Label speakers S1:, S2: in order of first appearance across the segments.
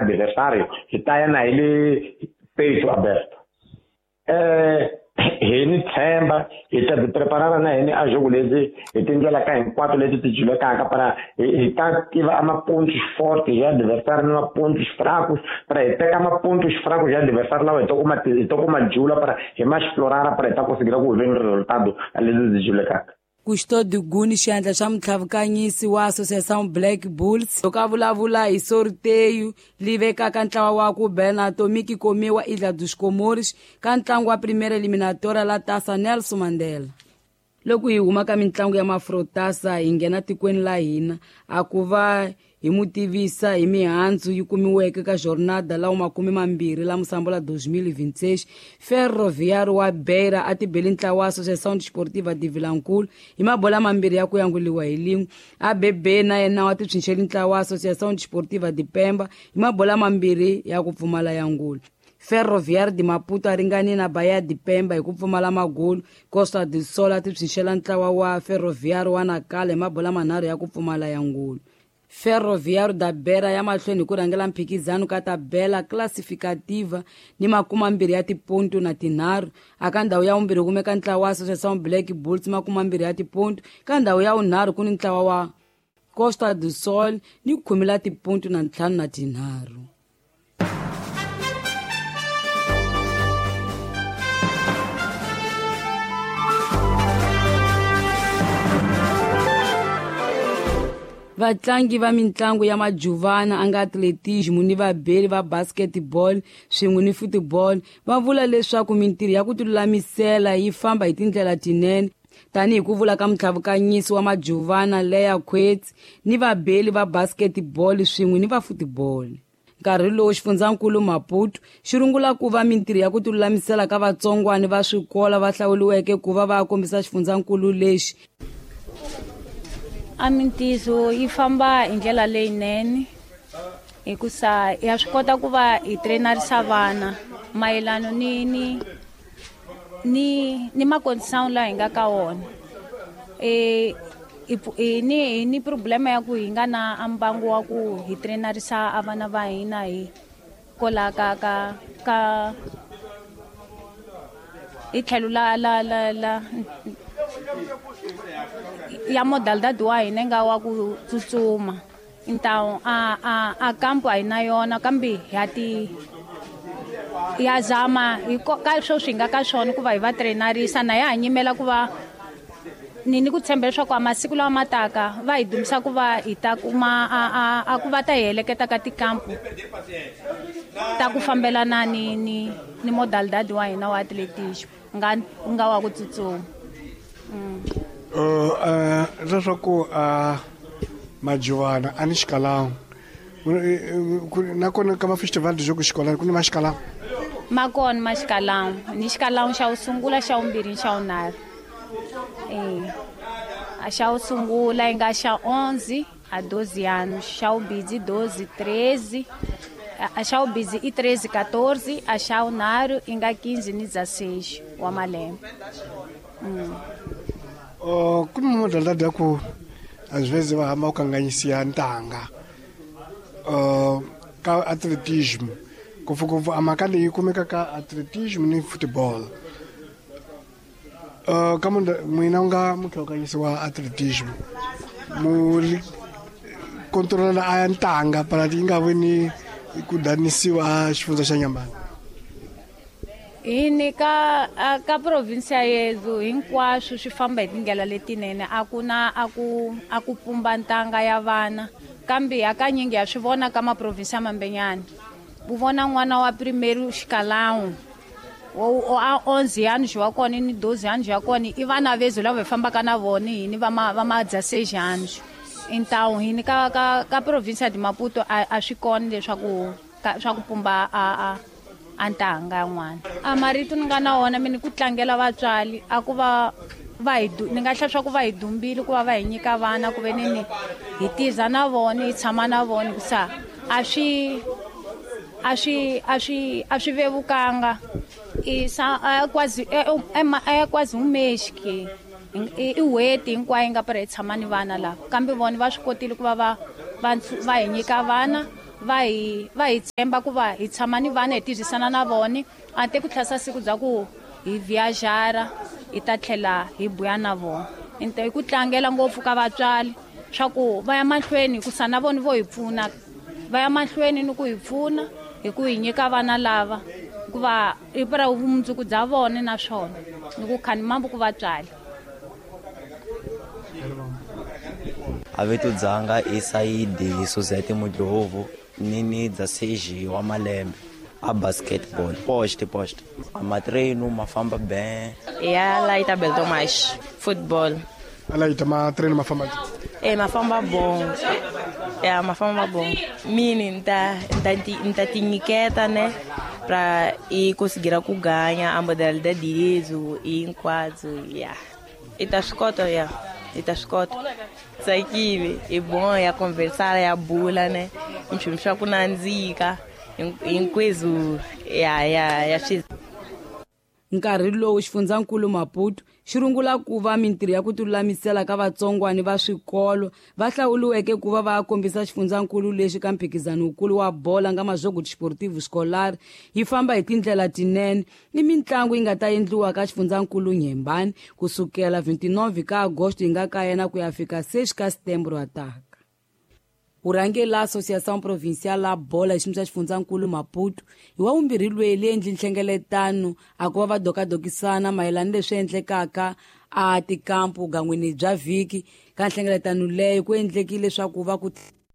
S1: Adversário hi ta ya na hi le peito aberto. Hi ni tshemba hi ta ti preparara na hini a jogo leti hi tindlela ka hinkwato leti ti julekaka para hi ta tiva a mapontos fortes ya adversário ni mapontos fracos para hi teka mapontos fracos ya adversário lawa hi ta kuma jula para hi ma explorara para hi ta conseguir ku ver resultado leti ti julekaka.
S2: Custódio Guni, xandla xa mutlhavukanyisi wa Associação Black Bulls, loko a vulavula hi sorteio li vekaka ntlawa wa ku bela Atomic Komiwa Ilha dos Comores ka ntlangu wa primeira eliminatória la Taça Nelson Mandela. Loko hi huma ka mintlangu ya Mafrotasa hi nghena tikweni la hina, a ku va hi mu tivisa hi mihandzu yi kumiweke ka jornada la 20 la Mosambola 2026. Ferroviário wa Beira a tibeli ntlawa wa Associação Desportiva de Vilankulu hi mabola mambirhi ya ku yanguliwa hi lin'we. ABB na yena wa tipsinxeli ntlawa wa Associação Desportiva de Pemba hi mabola mambirhi ya ku pfumala yangulu. Ferroviário de Maputo a ringani na Bahia de Pemba hi ku pfumala magolu. Costa do Sol a tipsinxela ntlawa wa Ferroviário wa Nacala hi mabola manharhu ya ku pfumala yangulu. Ferroviário da Beira ya mahlweni hi ku rhangela mphikizano ka tabela classificativa ni 20 ya tiponto na 3. Aka ndhawu ya vumbirhi kumeka ntlawa wa Associação Black Bulls 20 ya tiponto. Ka ndhawu ya vunharhu ku ni ntlawa wa Costa do Sol ni 10 la tiponto na 53. Vatlangi va mintlangu ya majuvana a nga atletismo ni vabeli va basketball swin'we ni football va vula leswaku mintirho ya ku tilulamisela yi famba hi tindlela tinene, tanihi ku vula ka mutlhavukanyisi wa majuvana Leya Khwetsi ni vabeli va basketball swin'we ni va football. Nkarhi lowu xifundzankulu Maputo xi rungula ku va mintirho ya ku tilulamisela ka vatsongwani va swikolo va hlawuriweke ku va va kombisa xifundzankulu lexi.
S3: A mintiso yi famba hi ndlela leyinene hikusa ya swi kota ku va hi trainarisa vana mayelana ni ni ni ni macondição laha hi nga ka wona. Hi ni problema ya ku hi nga na mbangu wa ku hi trainarisa a vana va hina hi kola ka ka ka hi tlhelo la la la la ya modalidade wa hina nga wa ku tsutsuma. Então a campo a hi na yona kambe ya ti ya zama hi ka swo swi nga ka swona ku va hi va trainarisa na ya ha nyimela ku va ni ku tshemba leswaku a masiku lawa ma taka va hi dumisa ku va hi ta kuma a ku va ta hi heleketa ka tikampu ta ku fambelana ni ni ni modalidade wa hina wa atletismo nga wa ku tsutsuma.
S4: Leswaku majuvana a ni xikalangu nakona ka mafestival de jogo xikolani ku ni maxikalangu
S3: ma kona maxikalangu ni xikalangu xa wu sungula, xa vumbirhi, xa vunharhu. A xa wu sungula yi nga xa 11 a 12 anos, xa vumbirhi 12 13, a xa vumbirhi i 13 14, a xa vunharhu yi nga 15 ni 16 wa malembe.
S4: Ku ni modalidade ya ku às vezes va hamba u kanganyisiya ntanga ka atletismo, ngopfungopfu a mhaka leyi kumeka ka atletismo ni football. Ka n'wina u nga mutlhavukanyisi wa atletismo mu controla a ya ntanga para yi nga vi ni ku danisiwa a xifundza xa Nyambani.
S3: Hi ni ka province yedu hinkwaswo swi famba hi tindlela letinene, a ku na a ku pumba ntanga ya vana, kambe hakanyingi ya swi vona ka maprovinsi ya mambenyana. U vona n'wana wa primeiro xikalangu a 11 anos wa kona ni 12 anos ya kona i vana vezu lava hi fambaka na vona hini va ma 16 anos. Então hini ka ka ka province de Maputo a swi kona leswaku swa ku pumba a ntanga yan'wana. A marito ni nga na wona mina ku tlangela vatswari a ku va hi ni nga hlaya swa ku va hi dumbile ku va va hi nyika vana ku ve ni hi tiza na vona hi tshama na vona hikusa a swi a swi a swi a swi vevukanga. Quase é quase um mês que i n'hweti hinkwayo yi nga para hi tshama ni vana lava, kambe vona va swi kotile ku va va va hi nyika vana Va hi tshemba ku va hi tshama ni vana hi tirhisana na vona a te ku tlhasa siku bya ku hi viajara hi ta tlhela hi buya na vona. Hi ku tlangela ngopfu ka vatswari swa ku va ya mahlweni ku sana vona vo hi pfuna, va ya mahlweni ni ku hi pfuna hi ku hi nyika vana lava hikuva i pra vumundzuku bya vona naswona ni ku khani mambu ku vatswari.
S5: A vito dzanga i Saidi Suzette Mudlovu nini dza seji wa malembe a basketball post a matreino mafamba ben
S6: ya laita Beltomas football
S4: alaita matreino mafamba
S6: mafamba bom ya mafamba bom mini nta tinyiketa ne pra e conseguir ku ganha a modalidade direito e enquadro ya ita ya ita tsakile i bom ya conversar ya bula ne nchumu swa ku nandzika hinkweswo ya swi.
S2: Nkarhi lowu xifundzankulu Maputo xi rungula ku va mintirho ya ku tilulamisela ka vatsongwani va swikolo va hlawuriweke ku va va kombisa xifundzankulu lexi ka mphikizano wukulu wa bola nga Majogo Desportivo Escolar yi famba hi tindlela tinene ni mitlangu yi nga ta endliwa ka xifundzankulu Nyembani kusukela 29 ka Agosto yi nga ka yena ku ya fika 6 ka Setembro ataka. Urhangeri la Associação Provincial la Bola xiyimo xa xifundzankulu Maputo hi wa vumbirhi loyi le endli nhlengeletano a ku va va dokadokisana mayelana leswi endlekaka a tikampu gan'wini bya vhiki. Ka nhlengeletano leyo ku endlekile leswaku va ku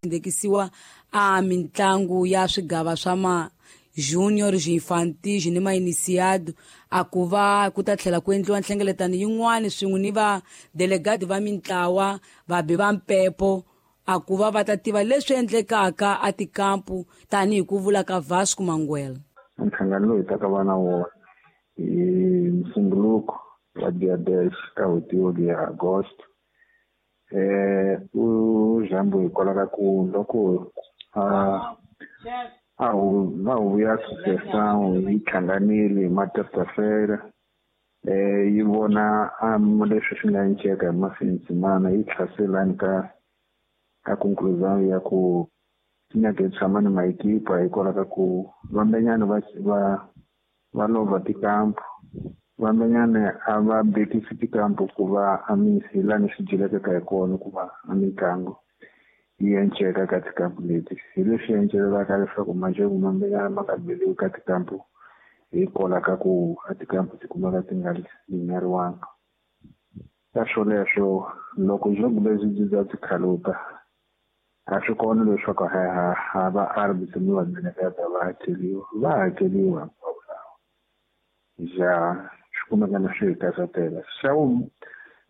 S2: ndekisiwa a mitlangu ya swigava swa ma junior, infantil ni ma iniciado a ku va ku ta tlhela ku endliwa nhlengeletano yin'wana swin'we ni va delegate va mintlawa vabi va mpepo a ku va va ta tiva leswi endlekaka a tikampu tanihi ku vula ka Vasco Manguela.
S7: Nhlangano lowu hi taka va na wona hi Musumbuluko wa dia 10 ka n'hweti ya Agosto u jambo hikwalaho ka ku loko a va huvo ya associação yi hlanganile hi ma-terça-feira yi vona leswi swi nga enceka hi mafindzimana yi tlhaselani ka conclusão ya ku nyaka hi tshama ni maekipa hikwalaho ka ku vambenyana va lova tikampu, vambenyana a va bekisi tikampu ku va hi lani swi dyelekaka hi kona ku va a mitlangu yi enceka ka tikampu leti. Hi leswi encelelaka leswaku majeko mambenyana ma nga beliwi ka tikampu hikwalaho ka ku a tikampu ti kumeka ti nga linyariwanga. Ka swoleswo loko jogo lebyi byi bya tikhaluka a swi kona leswaku ha va arbitro ni va va hakeliwa va hakeliwa hinkwavo lawa ja swi kumeka na swi hi karhatela. Xa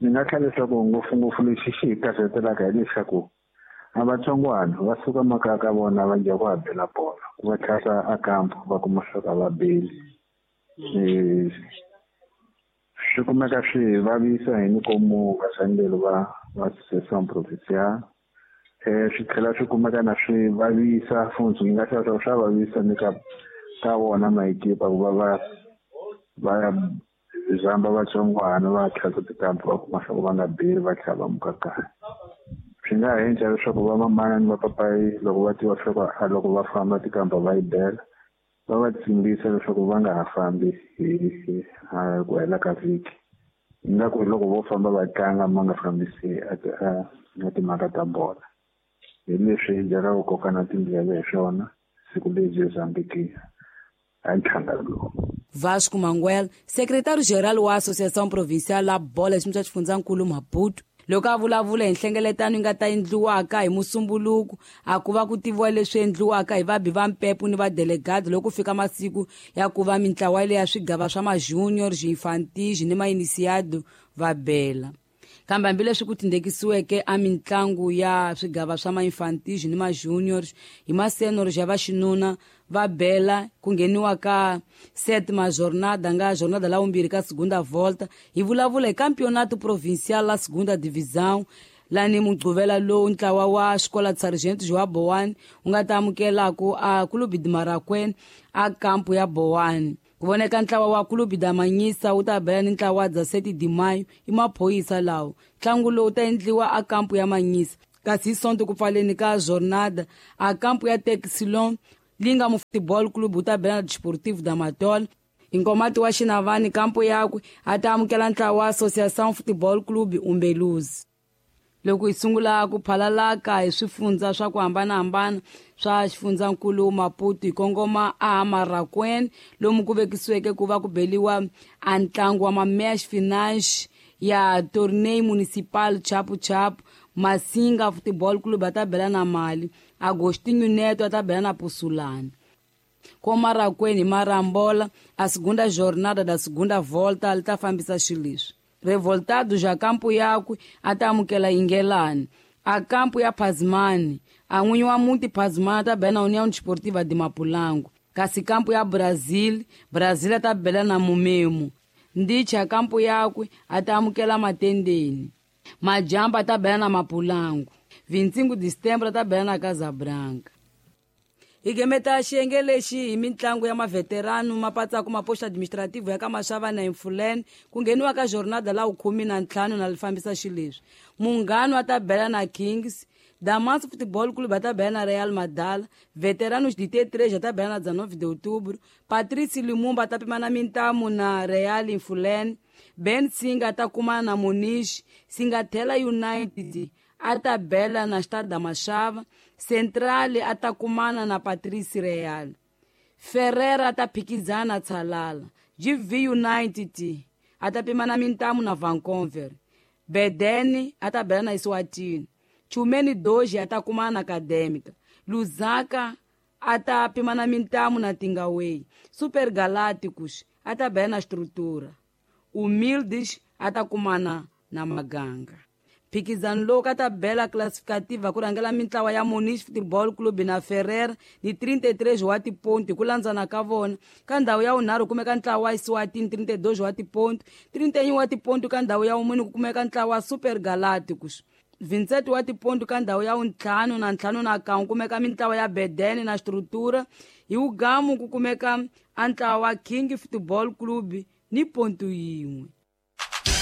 S7: ni nga tlhela leswaku ngopfungopfu lexi xi hi karhatelaka hileswaku a vatsongwana va suka makaya ka vona va dya ku habela bola ku va tlhasa a kampu va kuma leswaku a va beli swi kumeka swi vavisa hi nikomu vasangelo va Associação Provincial swi tlhela swi kumeka na swi vavisa futhi ni nga hlaya leswaku swa vavisa ni ka vona maekipa ku va va zamba vatsongwana va tlhasa tikampu va kuma leswaku va nga beli va tlhela va muka kaya. Swi nga endla leswaku va mamana ni vapapayi loko va tiva leswaku loko va famba tikampa va yi bela va va tsimbisa leswaku va nga ha fambi hi ku hela ka vhiki ingaku hi loko vo famba va tlanga ma nga fambisi a timhaka ta bola. Hi leswi hi byelaka ku koka na tindleve hi swona siku lebyi Mozambique a nhlangano lowu.
S2: Vasco Manguela, secretário-geral wa Associação Provincial la Bola xiyimo xa xifundzankulu Maputo loko a vulavula hi nhlengeletano yi nga ta endliwaka hi Musumbuluko a ku va ku tiviwa leswi endliwaka hi vabi va mpepo ni vadelegado loko ku fika masiku ya ku va mintlawa leya swigava swa ma-junior, infantil ni ma-iniciado va bela. Kambe hambileswi ku tindekisiweke a mitlangu ya swigava swa ma-infantil ni ma-junior hi ma-senior ya vaxinuna va bela ku ngheniwa ka sétima jornada nga jornada la vumbirhi ka segunda volta hi vulavula hi campeonato provincial la segunda divisão lani Mugqivela lowu ntlawa wa Escola de Sargento João Boane wu nga ta amukelaku a Clube de Marakwena a kampu ya Boane. Ku voneka ntlawa wa Clube da Manyisa wu ta bela ni ntlawa wa 17 de Maio i maphorisa lawo. Ntlangu lowu ta endliwa a kampu ya Manyisa. Kasi hi Sonto ku pfaleni ka jornada, a kampo ya Texilon li nga mu Futebol Clube wu ta bela na Desportivo da Matola. Hi Nkomati wa Xinavani kampo yakwe a ta amukela ntlawa wa Associação Futebol Clube Umbeluzi. Loko hi sungula ku phalalaka hi swifundza swa ku hambanahambana swa xifundzankulu Maputo, hi kongoma a Marracuene lomu ku vekisiweke ku va ku beliwa a ntlangu wa ma-match finance ya Torneio Municipal Chapu Chapu. Masinga Football Club a ta bela na Mali, Agostinho Neto a ta bela na Pusulani. Ko Marracuene hi Marambola a segunda jornada da segunda volta li ta fambisa xileswi. Revoltado ja kampo yakwe a ta amukela Ingelani. A kampo ya Pazmani, a n'winyi wa muti Pazmani a ta bela na União Desportiva de Mapulango. Kasi kampo ya Brazil, Brazil a ta bela na Mumemo. Ndichi a kampo yakwe a ta amukela Matendeni. Majamba a ta bela na Mapulango. 25 de setembro a ta bela na Casabranca. Hi gemeta xiyenge lexi hi mitlangu ya maveterano mapatsaku maposto administrativo ya ka Maxava na Infulene ku ngheniwa ka jornada la 15 na li fambisa xileswi. Munghano a ta bela na Kings, Damas Futebol Clube a ta bela na Real Madala, Veteranos de T3 a ta bela na 19 de outubro, Patrício Lumumba a ta pimana mintamu na Real Infulene, Ben Singa a ta kumana na Muniz, Singatela United a ta bela na Estado da Machava, Central a ta kumana na Patrício Real, Ferreira a ta phikizana na Tsalala, GV United a ta pimana mintamu na Vancouver, Bedene a ta bela na Eswatini, Chumeni Doji a ta kumana na Acadêmica, Lusaka a ta pimana mintamu na Tingawei, Super Galácticos a ta bela na Estrutura, Humildes a ta kumana na Maganga. Phikizano lowu ka tabela classificativa ku rhangela mintlawa ya Muniz Football Club na Ferrer ni 33 wa tiponto hi ku landzana ka vona. Ka ndhawu ya vunharhu kumeka ntlawa wa Eswatini 32 wa tiponto, 31 wa tiponto ka ndhawu ya vumune ku kumeka ntlawa wa Super Galácticos. 27 wa tiponto ka ndhawu ya vuntlhanu na ntlhanu na kan'we kumeka mintlawa ya Bedene na Strutura. Hi wugamu ku kumeka a ntlawa wa King Football Club ni ponto yin'we.